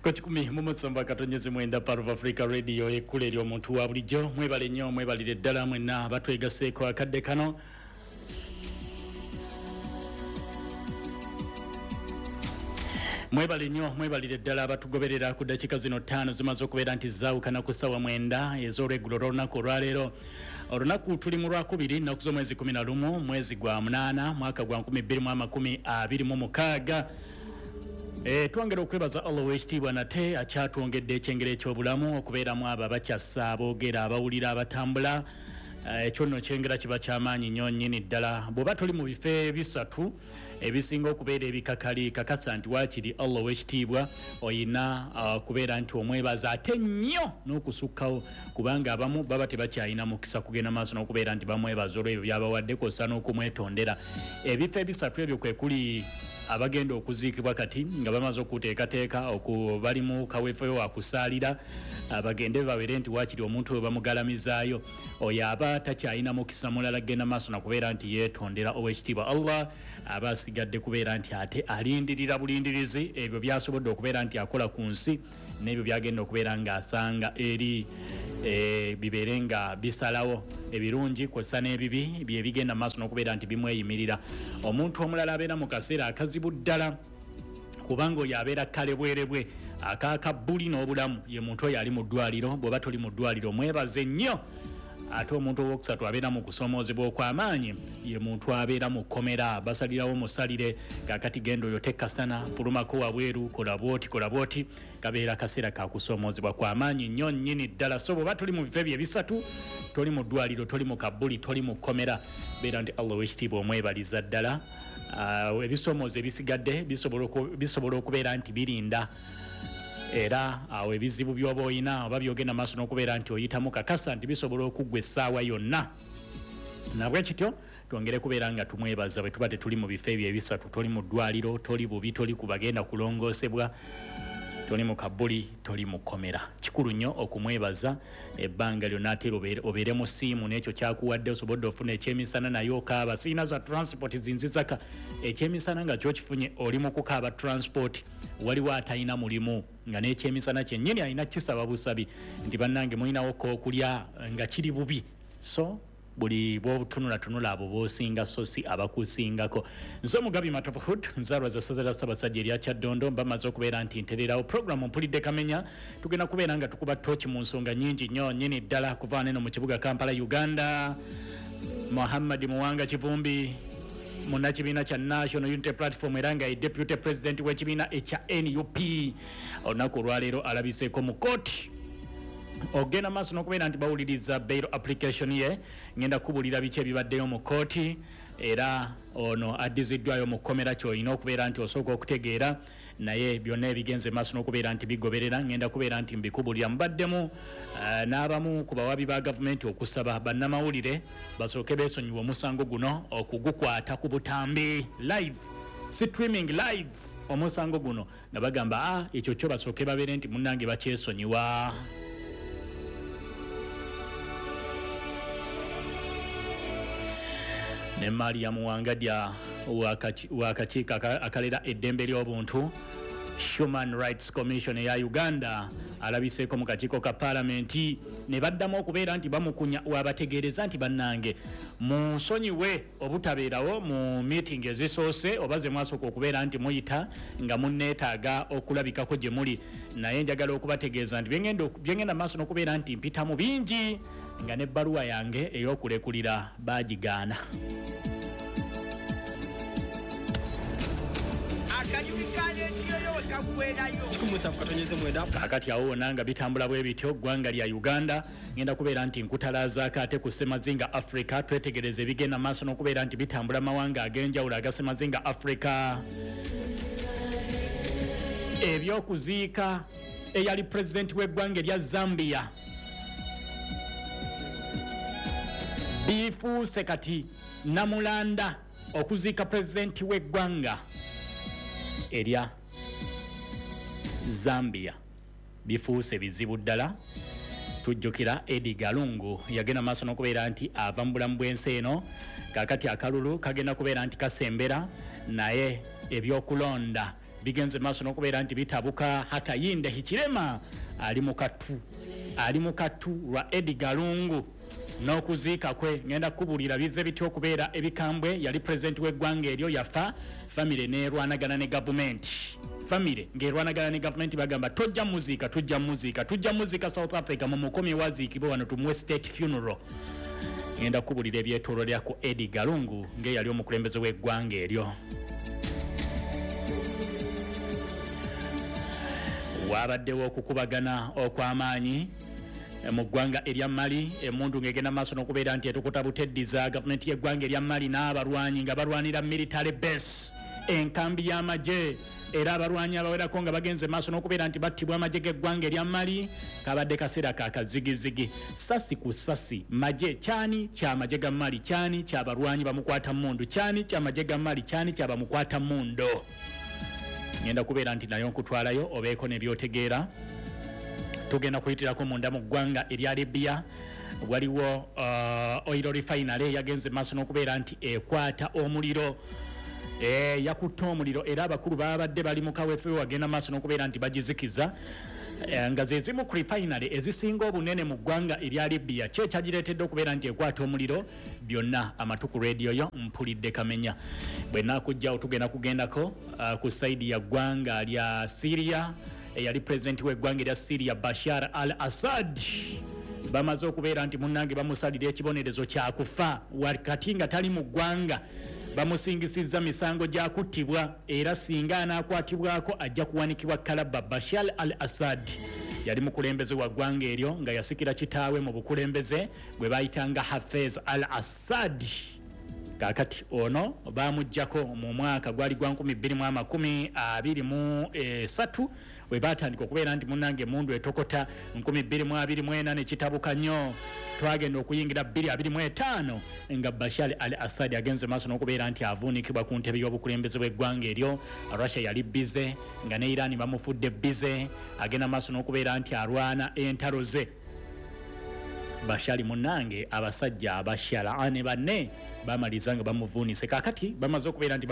Ku 107.9 Part of Africa Radio, ekkula eri omuntu wa bulijjo. Mwebale nnyo, mwebalire ddala mwenna batwegaseeko akadde kano. Mwebale nnyo, mwebalire ddala abatugoberera. Ku ddakiika zino 5 zimaze okubeera nti zaawukana ku ssaawa 9 ez'olweggulo olw'olunaku olwaleero. Olunaku tuli mu Lwakubiri, nnaku z'omwezi 11, mwezi gwa 8, mwaka gwa 2026. Twongera okwebaza Allah ow'ekitiibwa nate akyatwongedde ekyengera eky'obulamu okubeeramu abo abakyassa, aboogera, abawulira, abatambula. Ekyo nno kyengera kiba kyamaanyi nnyo nnyini ddala. Bw'oba toli mu bifo ebisatu ebisinga okubeera ebikakali, kakasa nti waakiri Allah ow'ekitiibwa oyina okubeera nti omwebaza ate nnyo n'okusukkawo, kubanga abamu baba tebakyalina mukisa kugenda maaso n'okubeera nti bamwebaza olw'ebyo by'abawadde kw'ossa n'okumwetondera. Ebifo ebisatu ebyo kwe kuli abagenda okuziikibwa kati nga bamaze okuteekateeka, bali mu kaweefube wa kusaalira, bagende babeere nti waakiri omuntu we bamugalamizaayo. Oyo aba takyalina mukisa mulala genda maaso na kubeera nti yeetondera ow'ekitiibwa Allah, aba asigadde kubeera nti ate alindirira bulindirizi ebyo by'asobodde okubeera nti akola ku nsi n'ebyo by'agenda okubeera ng'asanga eri, bibeere nga bisalawo ebirungi kw'ossa n'ebibi bye bigenda maaso n'okubeera nti bimweyimirira. Omuntu omulala abeera mu kaseera akazibu ddala, kubanga oyo abeera kalebwerebwe akakabbuli n'obulamu, ye muntu oyo ali mu ddwaliro. Bw'oba toli mu ddwaliro mwebaze nnyo. Ate omuntu owokusatu abeera mu kusomoozebwa okw'amaanyi ye muntu abeera mu kkomera, basalirawo musalire, kaakati genda oyo tekasana, pulumako wabweru, kola bw'oti, kola bw'oti. Kabeera kaseera ka kusomoozebwa kw'amaanyi nnyo nnyini ddala. So bw'oba toli mu bifo ebyo ebisatu, toli mu ddwaliro, toli mu kabbuli, toli mu kkomera, beera nti Allah ow'ekitiibwa omwebaliza ddala. Ebisomoozo ebisigadde bisobola okubeera nti birinda, era awo ebizibu by'oba oyina oba by'ogenda maaso n'okubeera nti oyitamu, kakasa nti bisobola okuggwa essaawa yonna. Nabwe kityo twongere kubeera nga tumwebaza bwe tuba tetuli mu bifo ebyo ebisatu. Toli mu ddwaliro, toli bubi, toli ku bagenda kulongoosebwa, toli mu kabbuli, toli mu kkomera. Kikulu nnyo okumwebaza ebbanga lyonna, ate obeere mu siimu n'ekyo kyakuwadde, osobodde ofuna ekyemisana naye okaaba, sirina za transport zinzizaka. Ekyemisana nga kyokifunye oli mu kukaaba transport. Waliwo atalina mulimu nga n'ekyemisana kyennyini alina kisaba busabi nti bannange mulinawo k'okulya nga kiri bubi. So buli bw'otunulatunula abo b'osinga so si abakusingako. Nze Omugabi Matovu Hood, nzaalwa za ssaza lya Ssaabasajja erya Kyaddondo, mba mmaze okubeera nti ntererawo pulogulaamu Mpulidde Kamenya. Tugenda kubeera nga tukuba ttooki mu nsonga nnyingi nnyo nnyini ddala kuva wano eno mu kibuga Kampala, Uganda. Muhammad Muwanga Kivumbi, munnakibiina kya National Unity Platform era nga ye Deputy President w'ekibiina ekya NUP, olunaku olwaleero alabiseeko mu kkooti ogenda maaso n'okubeera nti bawuliriza bail application ye. Ngenda kubuulira biki ebibaddeyo mu kkooti, era ono addiziddwayo mu kkomera, ky'olina okubeera nti osooka okutegeera, naye byonna ebigenze maaso n'okubeera nti bigoberera ngenda kubeera nti mbikubulira. Mubaddemu n'abamu ku bawabi ba gavumenti okusaba bannamawulire basooke beesonyiwe omusango guno okugukwata ku butambi live, streaming live omusango guno, nga bagamba ekyo kyo basooke babeere nti munnange bakyesonyiwa. Ne Maria Muwangadya w'akakiiko akalera eddembe ly'obuntu, Human Rights Commission eya Uganda, alabiseeko mu kakiiko ka paalamenti ne baddamu okubeera nti bamukunya, wabategeereza nti bannange munsonyiwe obutabeerawo mu meeting ezisoose oba ze mwasooka okubeera nti muyita nga munneetaaga okulabikako gye muli, naye njagala okubategeeza nti byengenda maaso n'okubeera nti mpita mu bingi nga n'ebbaluwa yange ey'okulekulira baagigaana. Akanyumi ka leediyo yo we kaggweerayo. 107.9. Kaakati awo wonna nga bitambula bwe bityo, ggwanga lya Uganda, ngenda kubeera nti nkutalaazaako ate ku Ssemazinga Africa, twetegereze ebigenda maaso n'okubeera nti bitambula mawanga ag'enjawulo aga Ssemazinga Africa. Ebyokuziika eyali pulezidenti w'eggwanga erya Zambia bifuuse kati namulanda. Okuziika pulezidenti w'eggwanga erya Zambia bifuuse bizibu ddala. Tujjukira Edgar Lungu yagenda maaso n'okubeera nti ava mu bulamu bw'ensi eno. Kaakati akalulu kagenda kubeera nti kasembera, naye ebyokulonda Bigenze maaso n'okubeera nti bitabuka. Hakainde Hichilema ali mu kattu, ali mu kattu lwa Edgar Lungu n'okuziika kwe. Ngenda kukubuulira bize bitya okubeera ebikambwe. Yali pulezidenti w'eggwanga eryo, yafa, famire n'erwanagana ne gavumenti. Famire ng'erwanagana ne gavumenti, bagamba tojja muziika, tujja muziika, tujja muziika South Africa, mumukomye waziikibwe wano, tumuwe state funeral. Ngenda kukubuulira ebyetoololera ku Edgar Lungu ng'eyali omukulembeze w'eggwanga eryo. Wabaddewo okukubagana okw'amaanyi mu ggwanga erya Mali. Emundu ng'egenda maaso n'okubeera nti etukuta buteddiza. Gavumenti y'eggwanga erya Mali n'abalwanyi nga balwanira military base, enkambi y'amagye, era abalwanyi abawerako nga bagenze maaso n'okubeera nti battibwa amagye g'eggwanga erya Mali. Kabadde kaseera ka kazigizigi, sasi ku sasi, magye kyani kyamagye ga Mali, kyani kyabalwanyi bamukwata mundu, kyani kyamagye ga Mali, kyani kyabamukwata mundo. Ngenda kubeera nti nayo nkutwalayo obeeko nebyotegeera. Tugenda kuyitirako munda mu ggwanga erya Libya. Waliwo oil refinery yagenze maaso n'okubeera nti ekwata omuliro, yakutte omuliro, era abakulu babadde bali mu kaweefube wagenda maaso n'okubeera nti bagizikiza, nga ze zimu ku refinery ezisinga obunene mu ggwanga erya Libya. Ki ekyagireetedde okubeera nti ekwata omuliro? Byonna amatu ku rediyo yo mpulidde kamenya. Bwe naakujjawo tugenda kugendako ku saidi ya ggwanga lya Syria. Eyali pulezidenti w'eggwanga erya Syria, Bashar al Assad, bamaze okubeera nti munnange bamusalira ekibonerezo kyakufa wakati nga tali mu ggwanga. Bamusingisizza misango gya kuttibwa, era singa anaakwatibwako ajja kuwanikibwa kalaba. Bashar al Assad yali mukulembeze wa ggwanga eryo nga yasikira kitaawe mu bukulembeze gwe bayitanga Hafez al Assad. Kaakati ono bamuggyako mu mwaka gwali gwa 2023 we batandika okubeera nti munnange emundu etokota. 2024 nekitabuka nnyo. Twagenda okuyingira 2025 nga Bashar al Assad agenze maaso n'okubeera nti avuunikibwa ku ntebe y'obukulembeze bw'eggwanga eryo. Russia yali bize nga ne Iran bamufudde bize, agenda maaso n'okubeera nti alwana entalo ze. Bashari munnange, abasajja abashalaa ne banne bamaliza nga bamuvuunise. Kaakati bamaze okubeera nti